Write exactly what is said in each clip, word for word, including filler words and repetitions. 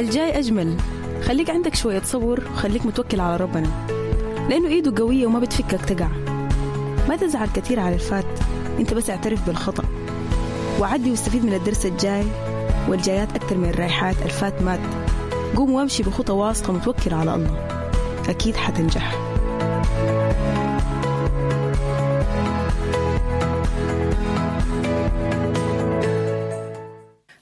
الجاي أجمل. خليك عندك شوية صبر وخليك متوكل على ربنا، لأنه إيده قوية وما بتفكك تقع. ما تزعل كثير على الفات، أنت بس اعترف بالخطأ وعدي واستفيد من الدرس الجاي والجايات أكثر من الرايحات. الفات مات، قوم وامشي بخطى واثقة متوكل على الله، أكيد حتنجح.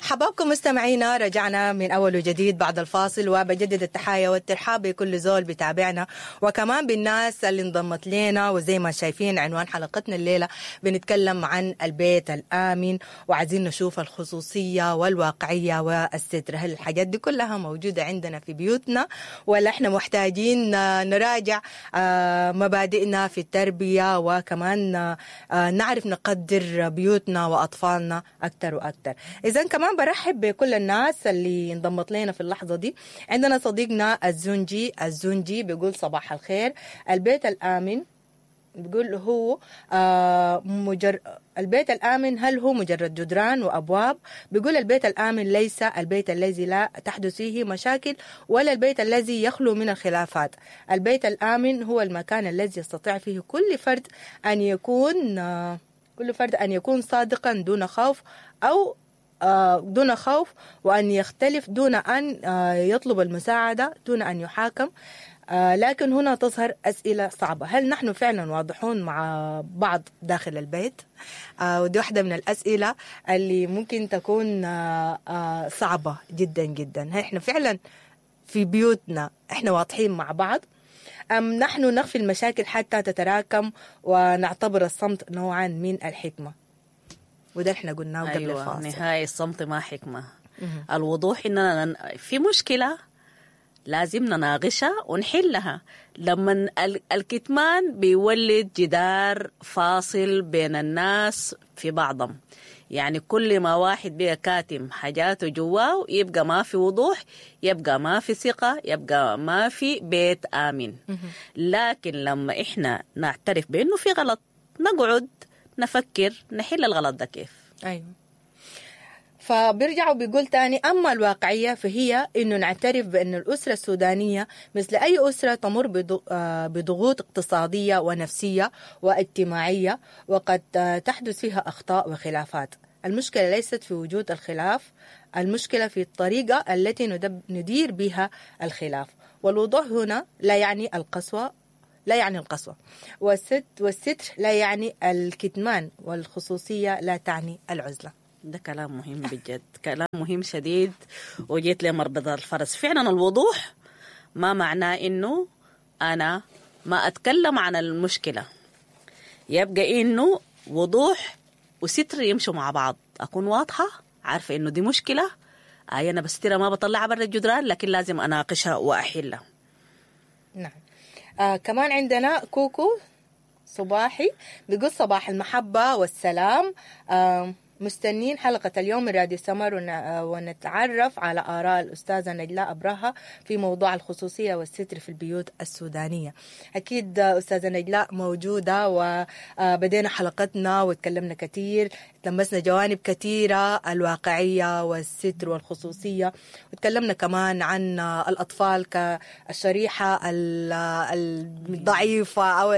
حبابكم مستمعينا، رجعنا من أول وجديد بعد الفاصل، وبجدد التحايا والترحاب بكل زول بتابعنا وكمان بالناس اللي انضمت لنا. وزي ما شايفين عنوان حلقتنا الليلة بنتكلم عن البيت الآمن، وعايزين نشوف الخصوصية والواقعية والستر. هل الحاجات دي كلها موجودة عندنا في بيوتنا، ولا احنا محتاجين نراجع مبادئنا في التربية، وكمان نعرف نقدر بيوتنا وأطفالنا أكثر وأكثر؟ إذن كمان برحب بكل الناس اللي انضمت لنا في اللحظة دي. عندنا صديقنا الزنجي، الزنجي بيقول صباح الخير. البيت الآمن بيقول هو آه مجر... البيت الآمن هل هو مجرد جدران وأبواب؟ بيقول البيت الآمن ليس البيت الذي لا تحدث فيه مشاكل، ولا البيت الذي يخلو من الخلافات. البيت الآمن هو المكان الذي يستطيع فيه كل فرد أن يكون آه كل فرد أن يكون صادقا دون خوف أو دون خوف، وأن يختلف دون أن يطلب المساعدة، دون أن يحاكم. لكن هنا تظهر أسئلة صعبة: هل نحن فعلا واضحون مع بعض داخل البيت؟ ودي واحدة من الأسئلة اللي ممكن تكون صعبة جدا جدا. هل احنا فعلا في بيوتنا احنا واضحين مع بعض، أم نحن نخفي المشاكل حتى تتراكم ونعتبر الصمت نوعا من الحكمة؟ وده احنا قلناه قبل أيوة، الفاصل. نهاية الصمت ما حكمة. مم. الوضوح إننا في مشكلة لازم نناقشها ونحلها. لما الكتمان بيولد جدار فاصل بين الناس في بعضهم، يعني كل ما واحد بقى كاتم حاجاته جواه يبقى ما في وضوح، يبقى ما في ثقة، يبقى ما في بيت آمن. لكن لما إحنا نعترف بأنه في غلط، نقعد نفكر نحل الغلط ده كيف. أيوة. فبيرجعوا بيقول تاني: أما الواقعية فهي إنه نعترف بأن الأسرة السودانية مثل أي أسرة تمر بضغوط اقتصادية ونفسية واجتماعية، وقد تحدث فيها أخطاء وخلافات. المشكلة ليست في وجود الخلاف، المشكلة في الطريقة التي ندير بها الخلاف. والوضوح هنا لا يعني القسوة، لا يعني القسوة، والست والستر لا يعني الكتمان، والخصوصية لا تعني العزلة. ده كلام مهم بجد، كلام مهم شديد، وجيت لمربط الفرس. فعلا الوضوح ما معناه إنه أنا ما أتكلم عن المشكلة، يبقى إنه وضوح وستر يمشوا مع بعض. أكون واضحة، عارفة إنه دي مشكلة، أي أنا بسترها ما بطلعها برا الجدران، لكن لازم أناقشها وأحلها. نعم. آه كمان عندنا كوكو صباحي بيقول صباح المحبة والسلام. آه مستنين حلقة اليوم من راديو سمر ونتعرف على آراء الأستاذة نجلاء أبرهة في موضوع الخصوصية والستر في البيوت السودانية. أكيد أستاذة نجلاء موجودة، وبدينا حلقتنا وتكلمنا كثير، تلمسنا جوانب كثيرة، الواقعية والستر والخصوصية، وتكلمنا كمان عن الأطفال كالشريحة الضعيفة أو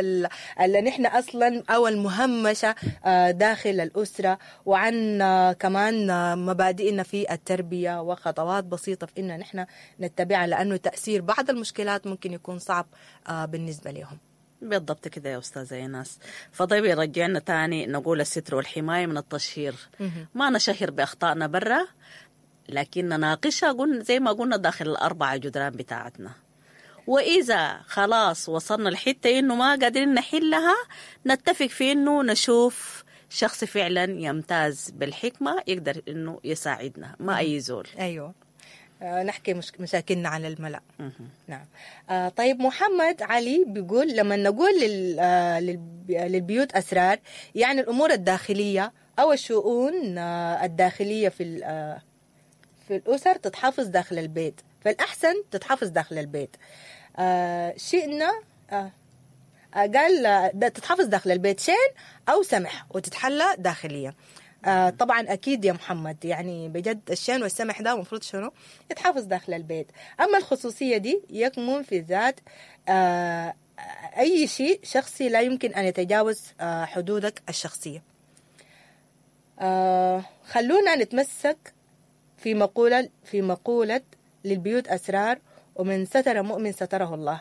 اللي نحن أصلا أو المهمشة داخل الأسرة، وعن كمان مبادئنا في التربية وخطوات بسيطة في إننا نحن نتبعها، لأنه تأثير بعض المشكلات ممكن يكون صعب بالنسبة لهم. بالضبط كده يا أستاذة إيناس. فطيب يرجعنا تاني نقول الستر والحماية من التشهير. ما نشهر بأخطائنا برا، لكن نناقشها قلنا زي ما قلنا داخل الأربعة جدران بتاعتنا. وإذا خلاص وصلنا لحتة إنه ما قادرين نحلها، نتفق في إنه نشوف شخص فعلا يمتاز بالحكمة يقدر إنه يساعدنا، ما أي زول. أيوة، آه نحكي مش مشاكلنا على الملأ. نعم. آه طيب محمد علي بيقول لما نقول لل آه للبيوت أسرار، يعني الأمور الداخلية أو الشؤون آه الداخلية في آه في الأسر تتحافظ داخل البيت، فالأحسن تتحافظ داخل البيت. آه شئنا آه قال ده تتحافظ داخل البيت شين أو سمح وتتحلى داخليا. آه طبعا اكيد يا محمد، يعني بجد الشين والسمح ده المفروض شنو يتحافظ داخل البيت. اما الخصوصية دي يكمن في ذات آه اي شيء شخصي لا يمكن ان يتجاوز آه حدودك الشخصية. آه خلونا نتمسك في مقولة في مقولة للبيوت أسرار، ومن ستر مؤمن ستره الله،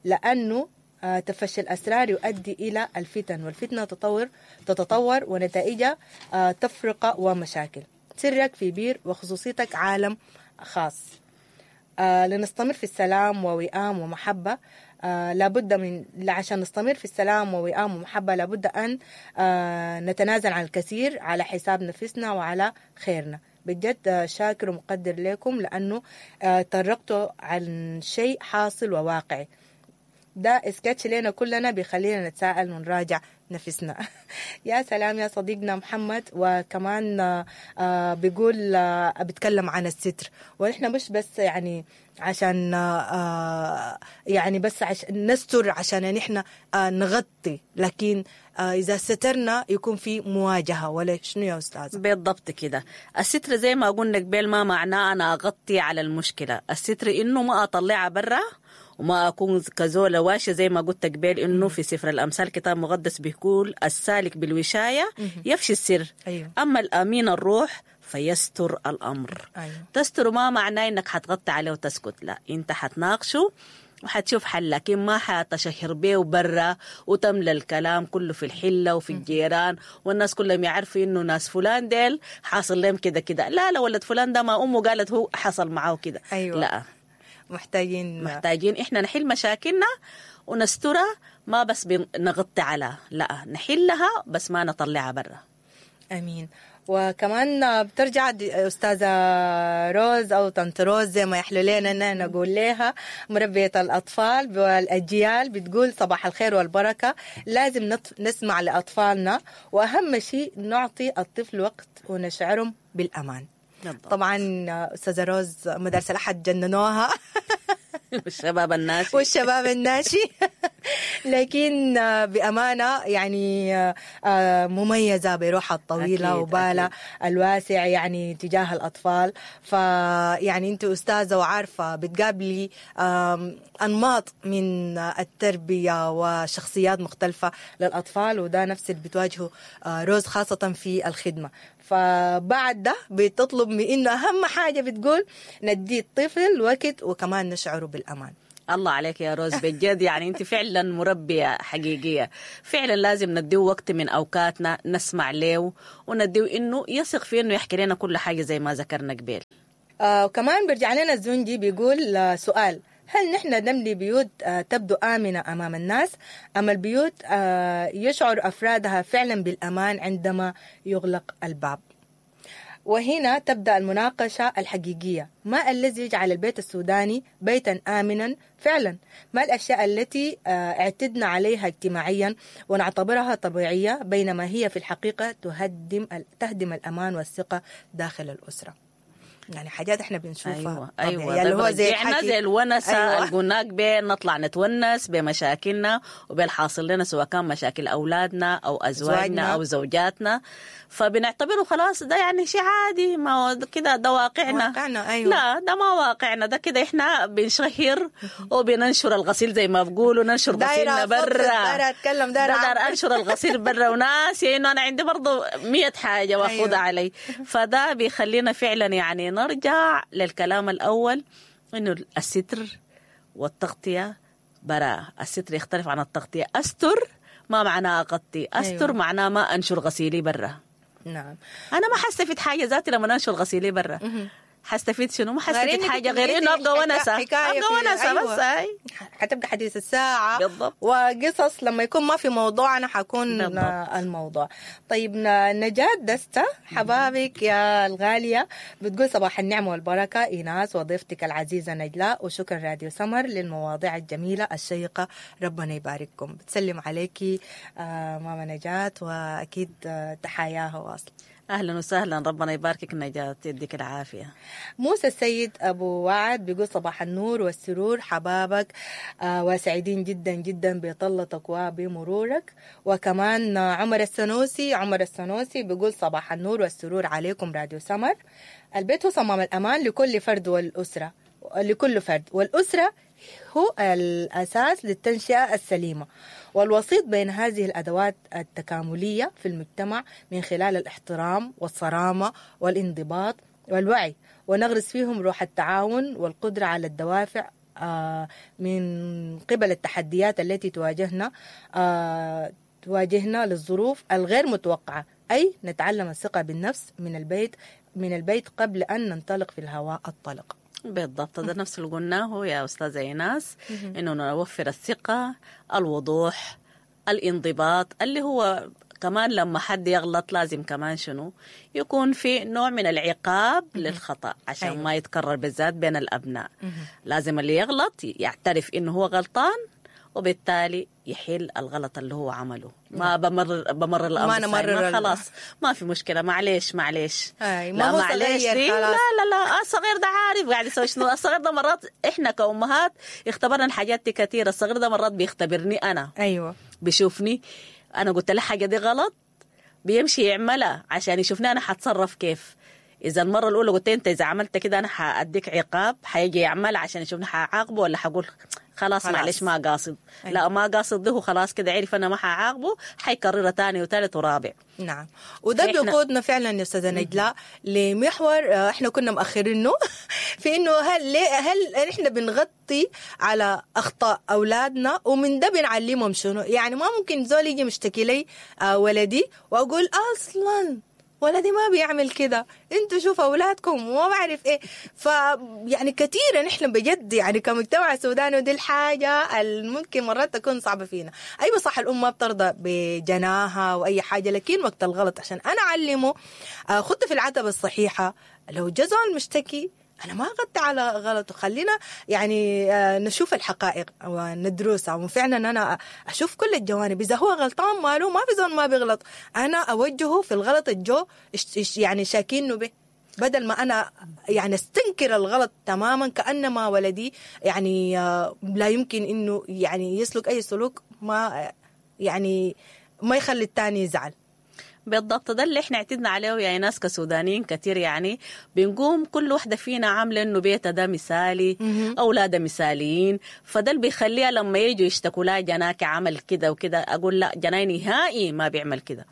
لأنه آه تفشي الأسرار يؤدي إلى الفتن، والفتنة تطور تتطور ونتائجها آه تفرقة ومشاكل. سرك في بير وخصوصيتك عالم خاص. آه لنستمر في السلام ووئام ومحبة، آه لابد من عشان نستمر في السلام ووئام ومحبة لابد أن آه نتنازل عن الكثير على حساب نفسنا وعلى خيرنا. بجد شاكر ومقدر لكم لأنه آه طرقتوا عن شيء حاصل وواقعي. ده اسكتش لنا كلنا بيخلينا نتساءل ونراجع نفسنا. يا سلام يا صديقنا محمد. وكمان آه بيقول آه بيتكلم عن الستر، ونحن مش بس يعني عشان آه يعني بس عشان نستر عشان نحن آه نغطي، لكن آه إذا سترنا يكون في مواجهة، ولا شنو يا أستاذ؟ بالضبط كده. الستر زي ما قلنا قبل ما معناه أنا أغطي على المشكلة، الستر إنه ما أطلعها برا وما أكون كزولة واشة زي ما قلت قبل إنه في سفر الأمثال كتاب مقدس بيقول السالك بالوشاية يفشي السر. أيوه. أما الأمين الروح فيستر الأمر. أيوه. تستر ما معناه إنك حتغطي عليه وتسكت، لا، أنت حتناقشه وحتشوف حل، لكن ما حتشهر بيه برا وتملى الكلام كله في الحلة وفي الجيران والناس كلهم يعرفوا إنه ناس فلان ديل حاصل لهم كده كده. لا لا، ولد فلان ده ما أمه قالت هو حصل معاه كده. أيوه. لا، محتاجين محتاجين إحنا نحل مشاكلنا ونسترها، ما بس بنغطي على، لا نحلها بس ما نطلعها برا. أمين. وكمان بترجع أستاذة روز أو طنط روز زي ما يحلو لنا إن نقول لها، مربية الأطفال والأجيال، بتقول صباح الخير والبركة. لازم نسمع لأطفالنا، وأهم شيء نعطي الطفل وقت ونشعرهم بالأمان. بالضبط. طبعا أستاذة روز مدارس الأحد جننوها والشباب الناشي والشباب الناشي لكن بأمانة يعني مميزة بروحها الطويلة وبالها الواسع يعني تجاه الأطفال. فيعني أنت أستاذة وعارفة بتقابلي أنماط من التربية وشخصيات مختلفة للأطفال، وده نفس اللي بتواجهه روز خاصة في الخدمة. فبعد ده بتطلب من إنه أهم حاجة بتقول ندي الطفل وقت وكمان نشعره بالأمان. الله عليك يا روز، بجد يعني أنت فعلا مربية حقيقية. فعلا لازم نديه وقت من أوقاتنا نسمع له ونديه إنه يثق في إنه يحكي لنا كل حاجة زي ما ذكرنا قبل. آه وكمان برجع لنا الزنجي بيقول آه سؤال: هل نحن نبني بيوت آه تبدو آمنة أمام الناس، أم البيوت آه يشعر أفرادها فعلا بالأمان عندما يغلق الباب؟ وهنا تبدأ المناقشة الحقيقية. ما الذي يجعل البيت السوداني بيتا آمنا فعلا؟ ما الأشياء التي اعتدنا عليها اجتماعيا ونعتبرها طبيعية بينما هي في الحقيقة تهدم تهدم الأمان والثقة داخل الأسرة؟ يعني حاجات احنا بنشوفها. ايوه ايوه، اللي هو زي الحكي زي الونسه. أيوة. القناك بين نطلع نتونس بمشاكلنا وبالحاصل لنا، سواء كان مشاكل اولادنا او ازواجنا او زوجاتنا، فبنعتبره خلاص ده يعني شيء عادي، ما هو كده، ده واقعنا. واقعنا. ايوه. لا ده ما واقعنا، ده كده احنا بنشهر وبننشر الغسيل زي ما بقولوا، ننشر غسيلنا برا. دايرة اتكلم، دايرة انشر الغسيل برا، وناسي انه انا عندي برضه مية حاجة واخدها. أيوة. علي. فده بيخلينا فعلا يعني نرجع للكلام الأول، إنه الستر والتغطية براءة. الستر يختلف عن التغطية. أستر ما معناه أغطي، أستر. أيوة. معناه ما أنشر غسيلي برا. نعم. أنا ما حستفيد حاجة ذاتي لما أنشر غسيلي برا. حستفيد شنو؟ ما حستفيد حاجة غير إنه أبقى ونسة، أبقى ونسة. أيوة. بس أي حتبقى حديث الساعة. بالضبط. وقصص لما يكون ما في موضوع أنا حكون بالضبط. الموضوع. طيب نجاة دستة حبابك يا الغالية بتقول صباح النعمة والبركة إيناس وضيفتك العزيزة نجلاء، وشكرا راديو سمر للمواضيع الجميلة الشيقة، ربنا يبارككم. بتسلم عليكي آه ماما نجاة، وأكيد آه تحاياها واصل. اهلا وسهلا، ربنا يباركك نجاة، يديك العافية. موسى السيد ابو وعد بيقول صباح النور والسرور حبابك، آه وسعيدين جدا جدا بطلتك وبمرورك. وكمان عمر السنوسي، عمر السنوسي بيقول صباح النور والسرور عليكم راديو سمر. البيت هو صمام الامان لكل فرد والاسرة، لكل فرد والاسرة هو الاساس للتنشئه السليمة والوسيط بين هذه الأدوات التكاملية في المجتمع من خلال الاحترام والصرامة والانضباط والوعي، ونغرس فيهم روح التعاون والقدرة على الدوافع من قبل التحديات التي تواجهنا تواجهنا للظروف الغير متوقعة، أي نتعلم الثقة بالنفس من البيت من البيت قبل أن ننطلق في الهواء الطلق. بالضبط، ده نفس اللي قلناه يا أستاذة إيناس، إنه نوفر الثقة، الوضوح، الانضباط، اللي هو كمان لما حد يغلط لازم كمان شنو يكون في نوع من العقاب للخطأ عشان أيوة. ما يتكرر، بالذات بين الأبناء. لازم اللي يغلط يعترف إنه هو غلطان، وبالتالي يحل الغلط اللي هو عمله. ما بمر بمر الامر، ما نمرر، ما خلاص ما في مشكلة، معليش معليش، ما لا هو معليش دي. لا لا لا، الصغير ده عارف قاعد يسوي شنو. الصغير ده مرات احنا كأمهات اختبرنا الحاجات دي كثيرة. الصغير ده مرات بيختبرني انا، ايوه بيشوفني انا قلت له حاجة دي غلط، بيمشي يعملها عشان يشوفني انا حتصرف كيف. إذا المرة الأولى قلت أنت إذا عملت كده أنا حأديك عقاب، حيجي يعمل عشان يشوفني حعاقبه ولا حقول خلاص, خلاص معلش ما قاصد. أيوة. لا ما قاصد ده، خلاص كده عرف أنا ما حعاقبه، حيكررها تاني وثالث ورابع. نعم، وده بيقودنا فعلا يا أستاذة نجلاء لمحور احنا كنا مأخرينه في إنه هل هل احنا بنغطي على أخطاء أولادنا ومن ده بنعلمهم شنو؟ يعني ما ممكن زول يجي مشتكي لي ولدي وأقول أصلا ولدي ما بيعمل كده، انتوا شوفوا اولادكم وما بعرف ايه. ف يعني كثيرا نحن بجد يعني كمجتمع سوداني، ودي الحاجة الممكن مرات تكون صعبة فينا. ايوه صح، الام ما بترضى بجناها واي حاجة، لكن وقت الغلط عشان انا اعلمه خدت في العتبة الصحيحة. لو جزء المشتكي أنا ما أغطي على غلطه، خلينا يعني نشوف الحقائق وندرسها، وفعلا أنا أشوف كل الجوانب. إذا هو غلطان ماله، ما في زول ما بيغلط، أنا أوجهه في الغلط الجو يعني شاكينه به، بدل ما أنا يعني استنكر الغلط تماما كأنما ولدي يعني لا يمكن إنه يعني يسلك أي سلوك ما يعني ما يخلي الثاني يزعل. بالضبط، ده اللي احنا اعتدنا عليه يا ناس كسودانيين كثير. يعني بنقوم كل واحدة فينا عاملة انه بيتها ده مثالي، اولادها مثاليين، فده اللي بيخليها لما يجوا يشتكوا لها جناك عمل كده وكده، اقول لا جناي نهائي ما بيعمل كده.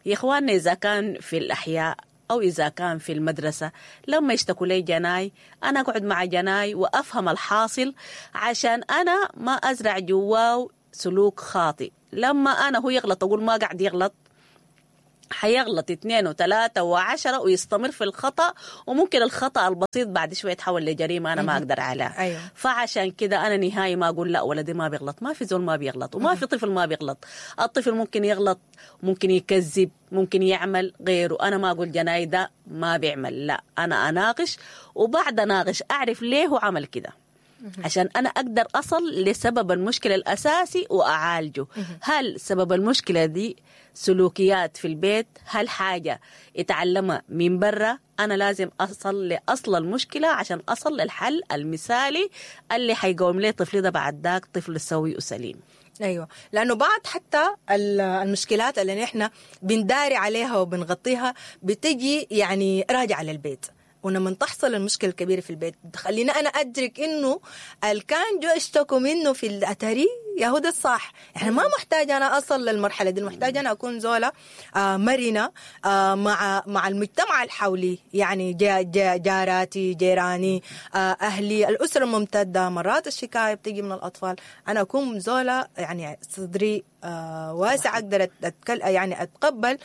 يا اخواننا اذا كان في الاحياء او اذا كان في المدرسة، لما يشتكوا لي جناي انا اقعد مع جناي وافهم الحاصل عشان انا ما ازرع جواه سلوك خاطئ. لما انا هو يغلط اقول ما قاعد يغلط، حيغلط اثنين وثلاثة وعشرة ويستمر في الخطأ، وممكن الخطأ البسيط بعد شوية يتحول لجريمة أنا ما أقدر عليها. أيوة. فعشان كده أنا نهائي ما أقول لا ولدي ما بيغلط، ما في زول ما بيغلط، وما في طفل ما بيغلط. الطفل ممكن يغلط، ممكن يكذب، ممكن يعمل غيره. أنا ما أقول جناي ده ما بيعمل، لا أنا أناقش، وبعد أناقش أعرف ليه هو عمل كده عشان أنا أقدر أصل لسبب المشكلة الأساسي وأعالجه. هل سبب المشكلة دي سلوكيات في البيت؟ هل حاجة اتعلمها من برا؟ أنا لازم أصل لأصل المشكلة عشان أصل للحل المثالي اللي حيقوم لي طفلي ده بعد ذاك طفل سوي وسليم. أيوة، لأنه بعض حتى المشكلات اللي نحن بنداري عليها وبنغطيها بتجي يعني راجعة للبيت، ولما تحصل المشكلة الكبيرة في البيت خلينا أنا أدرك إنه الكان جو اشتكوا منه في الأتاري يا هو ده الصح. يعني ما محتاجة أنا أصل للمرحلة دي، محتاجة أنا أكون زولة مرنة مع مع المجتمع الحولي، يعني جا جا جاراتي، جيراني، أهلي، الأسرة الممتدة. مرات الشكاية بتيجي من الأطفال، أنا أكون زولة يعني صدري واسع، أقدر أتكل يعني أتقبل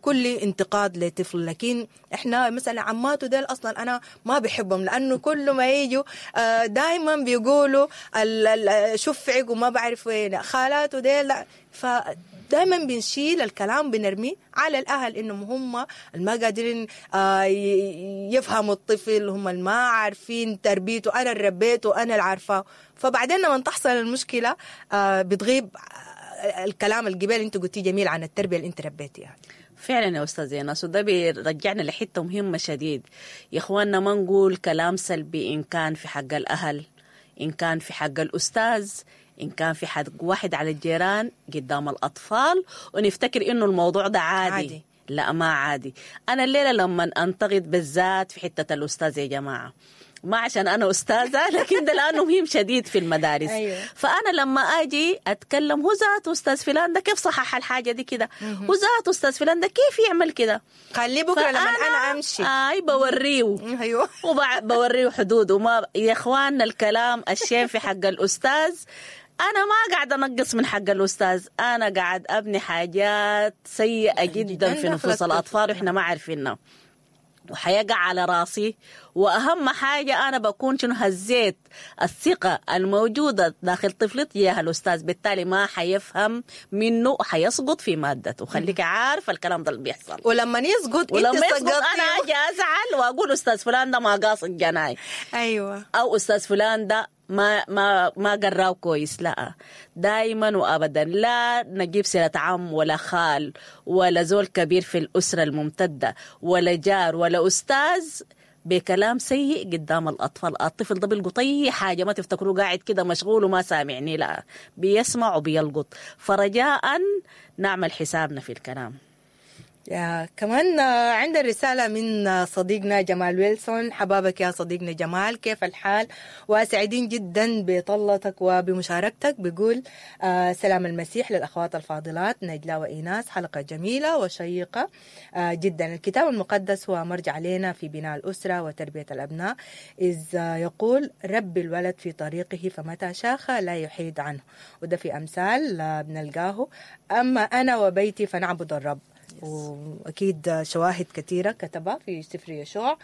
كل انتقاد لطفل. لكن إحنا مثلا عماته ديل أصلا أنا ما بحبهم، لأنه كل ما يجوا دائما بيقولوا شفعك وما بعرف وين خالاته ديل، فدائما بنشيل الكلام بنرميه على الأهل إنهم هم ما قادرين يفهموا الطفل، هم ما عارفين تربيته، أنا اللي ربيته، أنا اللي عارفاه. فبعدين لما تحصل المشكلة بتغيب الكلام الجبال انت قلتيه جميل عن التربية اللي انت ربيتيها. فعلا يا استاذ ايناس، وده بيرجعنا لحته مهمة شديد يا اخواننا. ما نقول كلام سلبي ان كان في حق الاهل، ان كان في حق الاستاذ، ان كان في حق واحد على الجيران قدام الاطفال، ونفتكر انه الموضوع ده عادي. عادي. لا ما عادي. انا الليلة لما انتقد بالذات في حتة الاستاذ يا جماعة، ما عشان أنا أستاذة، لكن ده لأنه مهم شديد في المدارس. أيوة. فأنا لما أجي أتكلم، هو ذاته أستاذ فلان ده كيف صحح الحاجة دي كده، هو ذاته أستاذ فلان ده كيف يعمل كده، خليه بكرة لما أنا أمشي أي بوريه. أيوة. وبوريه حدود. وما يا إخواننا الكلام الشين في حق الأستاذ، أنا ما قاعد أنقص من حق الأستاذ، أنا قاعد أبني حاجات سيئة جدا في نفوس الأطفال وإحنا ما عارفينها، وحيقع على راسي. وأهم حاجة أنا بكون شنو هزيت الثقة الموجودة داخل طفلي تجاه الأستاذ، بالتالي ما حيفهم منه وحيسقط في مادته. خليك عارف الكلام ده اللي بيحصل. ولما يسقط ولما يسقط أنا أجي أزعل وأقول أستاذ فلان ده ما قاصد جناي، أيوة، أو أستاذ فلان ده ما ما ما قراه كويس. لا، دائما وابدا لا نجيب سيره عم ولا خال ولا زول كبير في الاسرة الممتدة ولا جار ولا استاذ بكلام سيء قدام الاطفال. الطفل ده بيلقط اي حاجة، ما تفتكروه قاعد كده مشغول وما سامعني، لا بيسمع وبيلقط. فرجاء نعمل حسابنا في الكلام. يا كمان عندنا رسالة من صديقنا جمال ويلسون. حبابك يا صديقنا جمال، كيف الحال؟ وسعيدين جدا بطلتك وبمشاركتك. بيقول آه سلام المسيح للأخوات الفاضلات نجلاء وإيناس، حلقة جميلة وشيقة آه جدا. الكتاب المقدس هو مرجع لنا في بناء الأسرة وتربية الأبناء، إذ يقول رب الولد في طريقه فمتى شاخ لا يحيد عنه، وده في أمثال بنلقاه. أما أنا وبيتي فنعبد الرب. وأكيد شواهد كثيرة كتبها في سفر يشوع.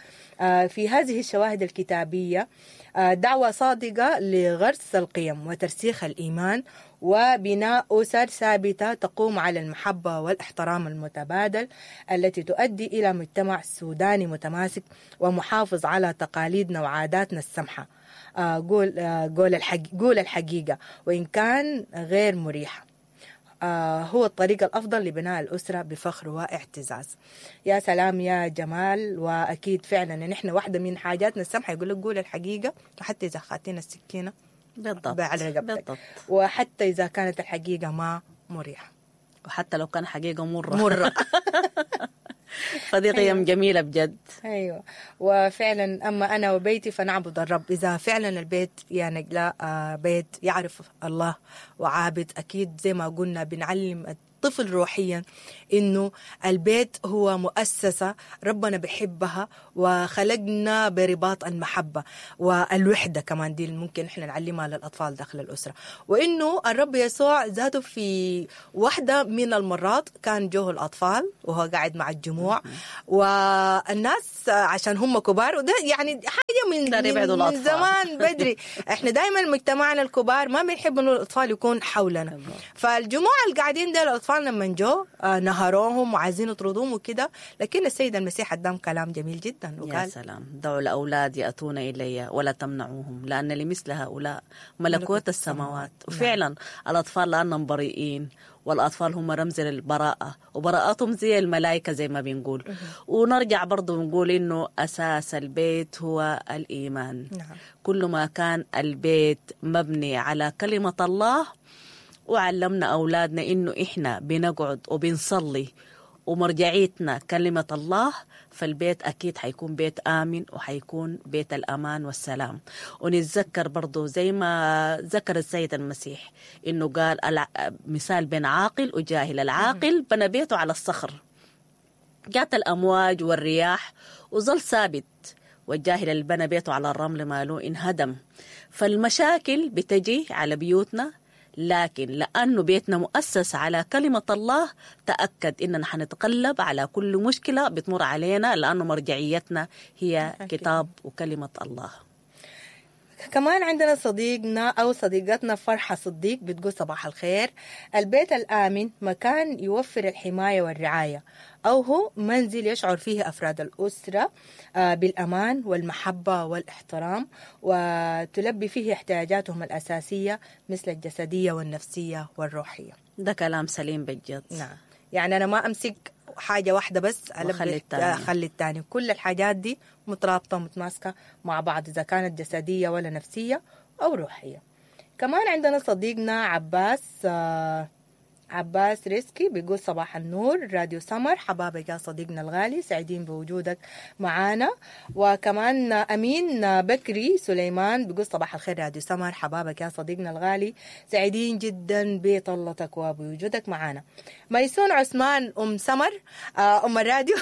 في هذه الشواهد الكتابية دعوة صادقة لغرس القيم وترسيخ الإيمان وبناء أسر ثابتة تقوم على المحبة والاحترام المتبادل، التي تؤدي إلى مجتمع سوداني متماسك ومحافظ على تقاليدنا وعاداتنا السمحة. قول قول قول الحقيقة وإن كان غير مريحة، هو الطريق الأفضل لبناء الأسرة بفخر واعتزاز. يا سلام يا جمال. وأكيد فعلا نحن واحدة من حاجاتنا السمحة يقول لك قول الحقيقة وحتى إذا خاتينا السكينة بالضبط على رقبتك، وحتى إذا كانت الحقيقة ما مريحة، وحتى لو كان حقيقة مرة مرة. فدي قيم جميلة بجد. أيوة، وفعلا أما أنا وبيتي فنعبد الرب. إذا فعلا البيت يا نجلاء بيت يعرف الله وعابد، أكيد زي ما قلنا بنعلم الطفل روحيا إنه البيت هو مؤسسة ربنا بحبها وخلقنا برباط المحبة والوحدة، كمان دي ممكن إحنا نعلمها للأطفال داخل الأسرة. وإنه الرب يسوع ذاته في واحدة من المرات كان جوه الأطفال وهو قاعد مع الجموع والناس عشان هم كبار، وده يعني حاجة من, من, من زمان بدري. إحنا دايما مجتمعنا الكبار ما بنحب إنه الأطفال يكون حولنا، فالجموع اللي قاعدين ده الأطفال لما جو نهروهم وعايزين يطردوهم وكده، لكن السيد المسيح قدم كلام جميل جدا وقال يا سلام، دعوا الأولاد يأتون إلي ولا تمنعوهم لأن لمثل هؤلاء ملكوت السماوات. وفعلا نعم. الأطفال لأنهم بريئين، والأطفال هم رمز للبراءة، وبراءتهم زي الملائكة زي ما بنقول. ونرجع برضو نقول إنه أساس البيت هو الإيمان. نعم. كل ما كان البيت مبني على كلمة الله، وعلمنا أولادنا إنه إحنا بنقعد وبنصلي ومرجعيتنا كلمة الله، فالبيت أكيد حيكون بيت آمن وحيكون بيت الأمان والسلام. ونتذكر برضو زي ما ذكر السيد المسيح إنه قال مثال بين عاقل وجاهل. العاقل بنى بيته على الصخر، جات الأمواج والرياح وظل ثابت، والجاهل اللي بنى بيته على الرمل ماله انهدم. فالمشاكل بتجي على بيوتنا، لكن لأنه بيتنا مؤسس على كلمة الله، تأكد إننا حنتقلب على كل مشكلة بتمر علينا، لأنه مرجعيتنا هي كتاب وكلمة الله. كمان عندنا صديقنا أو صديقتنا فرحة صديق بتقول صباح الخير، البيت الآمن مكان يوفر الحماية والرعاية، أو هو منزل يشعر فيه أفراد الأسرة بالأمان والمحبة والاحترام، وتلبي فيه احتياجاتهم الأساسية مثل الجسدية والنفسية والروحية. ده كلام سليم بجد. نعم، يعني أنا ما أمسك حاجة واحدة بس وأخلي التانية. أخلي التاني. كل الحاجات دي مترابطة ومتماسكة مع بعض، إذا كانت جسدية ولا نفسية أو روحية. كمان عندنا صديقنا عباس آه عباس ريسكي بيقول صباح النور راديو سمر، حبابك يا صديقنا الغالي، سعيدين بوجودك معانا. وكمان أمين بكري سليمان بيقول صباح الخير راديو سمر، حبابك يا صديقنا الغالي، سعيدين جدا بطلتك وبوجودك معانا. ميسون عثمان أم سمر أم الراديو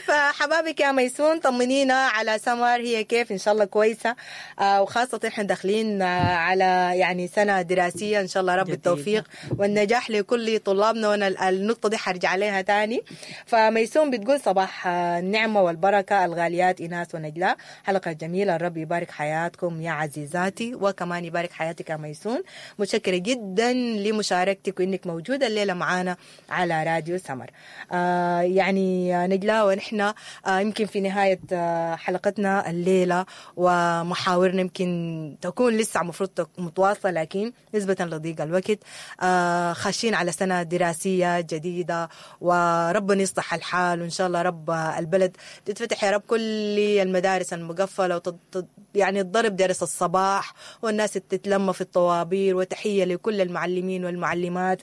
فحبابك يا ميسون، طمنينا على سمر، هي كيف؟ إن شاء الله كويسة، آه وخاصة إحنا داخلين آه على يعني سنة دراسية، إن شاء الله رب التوفيق والنجاح لكل طلابنا، وأنا النقطة دي حرجع عليها تاني. فميسون بتقول صباح النعمة والبركة الغاليات إناس ونجلاء، حلقة جميلة، الرب يبارك حياتكم يا عزيزاتي، وكمان يبارك حياتك يا ميسون. متشكرة جدا لمشاركتك وإنك موجودة الليلة معانا على راديو سمر. آه يعني نجلاء، ونحن يمكن في نهاية حلقتنا الليلة ومحاورنا يمكن تكون لسه مفروض متواصلة، لكن نسبة لضيق الوقت خاشين على سنة دراسية جديدة، وربنا يصلح الحال، وإن شاء الله رب البلد تتفتح يا رب كل المدارس المقفلة، وتط... يعني الضرب درس الصباح والناس تتلم في الطوابير. وتحية لكل المعلمين والمعلمات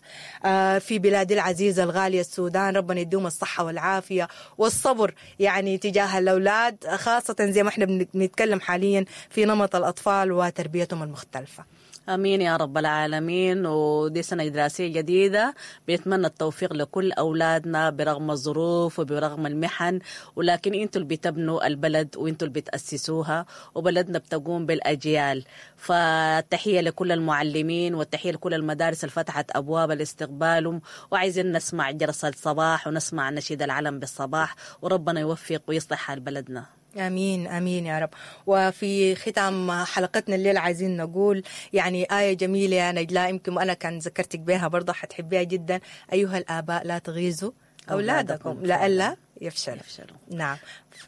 في بلادي العزيزة الغالية السودان، ربنا يديهم الصحة والعافية والصبر يعني تجاه الأولاد، خاصة زي ما احنا بنتكلم حاليا في نمط الأطفال وتربيتهم المختلفة. أمين يا رب العالمين. ودي سنة دراسية جديدة، بنتمنى التوفيق لكل أولادنا برغم الظروف وبرغم المحن، ولكن أنتوا اللي بتبنوا البلد وأنتوا اللي بتأسسوها، وبلدنا بتقوم بالأجيال. فالتحية لكل المعلمين والتحية لكل المدارس اللي فتحت أبواب لاستقبالهم، وعايزين نسمع جرس الصباح ونسمع نشيد العلم بالصباح، وربنا يوفق ويصلح حال بلدنا. آمين آمين يا رب. وفي ختام حلقتنا الليلة عايزين نقول يعني آية جميلة يا نجلاء، يمكن أنا كان ذكرتك بها برضه حتحبيها جدا، أيها الآباء لا تغيظوا أولادكم لئلا يفشلوا. يفشلوا. نعم. ف...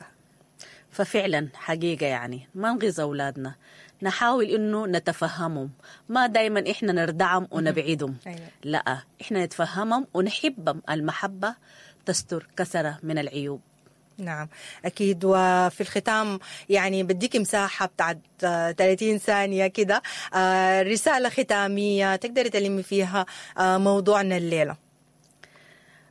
ففعلا حقيقة يعني ما نغيظ أولادنا، نحاول إنه نتفهمهم، ما دايما إحنا نردعهم ونبعدهم. أيوة. لا، إحنا نتفهمهم ونحبهم، المحبة تستر كثرة من العيوب. نعم أكيد. وفي الختام يعني بديك مساحة بتاعت ثلاثين ثانية كده، رسالة ختامية تقدري تلمي فيها موضوعنا الليلة.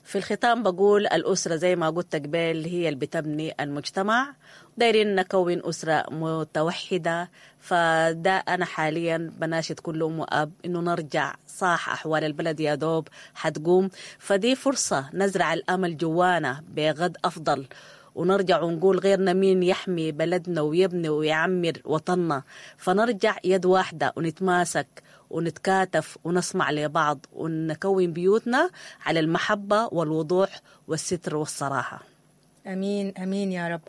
في الختام بقول الأسرة زي ما قلت قبل هي اللي بتبني المجتمع، دايرين نكون أسرة متوحدة. فده أنا حاليا بناشد كل أم وأب إنه نرجع صح، أحوال البلد يا دوب حتقوم، فدي فرصة نزرع الأمل جوانا بغد أفضل، ونرجع ونقول غيرنا مين يحمي بلدنا ويبني ويعمر وطننا. فنرجع يد واحدة ونتماسك ونتكاتف ونسمع لبعض ونكون بيوتنا على المحبة والوضوح والستر والصراحة. أمين أمين يا رب.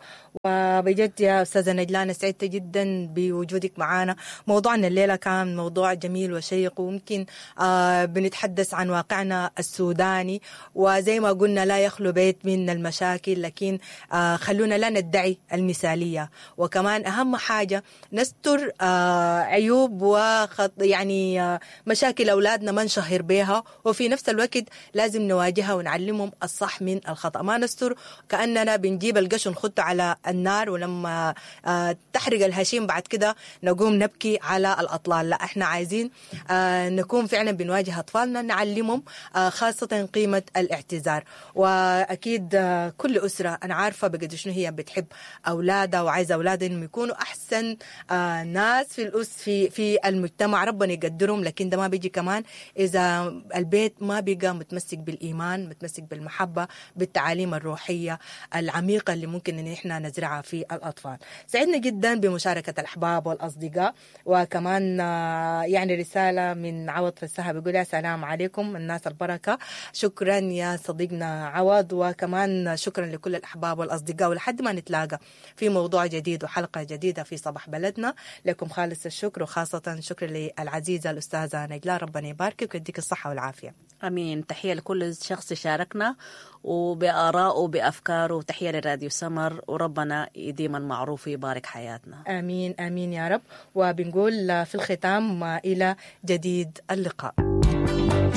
وبجد يا أستاذة نجلاء أنا سعدت جدا بوجودك معنا. موضوعنا الليلة كان موضوع جميل وشيق، وممكن آه بنتحدث عن واقعنا السوداني، وزي ما قلنا لا يخلو بيت من المشاكل، لكن آه خلونا لا ندعي المثالية، وكمان أهم حاجة نستر آه عيوب وخط يعني آه مشاكل أولادنا ما نشهر بها، وفي نفس الوقت لازم نواجهها ونعلمهم الصح من الخطأ، ما نستر كأننا بنجيب القش ونخطه على النار، ولما تحرق الهشيم بعد كده نقوم نبكي على الأطلال. لا، احنا عايزين نكون فعلا بنواجه أطفالنا، نعلمهم خاصة قيمة الاعتذار. وأكيد كل أسرة أنا عارفة بقد شنو هي بتحب أولادها وعايزة أولادها إنهم يكونوا أحسن ناس في الأس في في المجتمع، ربنا يقدرهم، لكن ده ما بيجي كمان إذا البيت ما بقى متمسك بالإيمان، متمسك بالمحبة، بالتعاليم الروحية العميقة اللي ممكن إن إحنا نزرعها في الأطفال. سعدنا جدا بمشاركة الأحباب والأصدقاء، وكمان يعني رسالة من عوض فسها بيقول يا سلام عليكم الناس البركة. شكرا يا صديقنا عوض، وكمان شكرا لكل الأحباب والأصدقاء، ولحد ما نتلاقى في موضوع جديد وحلقة جديدة في صباح بلدنا، لكم خالص الشكر، وخاصة شكر للعزيزة الأستاذة نجلاء، ربنا يباركك ويديك الصحة والعافية. أمين. تحية لكل شخص شاركنا وبآرائه وبأفكاره، وتحية لراديو سمر، وربنا يديم المعروف ويبارك حياتنا. آمين آمين يا رب. وبنقول في الختام إلى جديد اللقاء.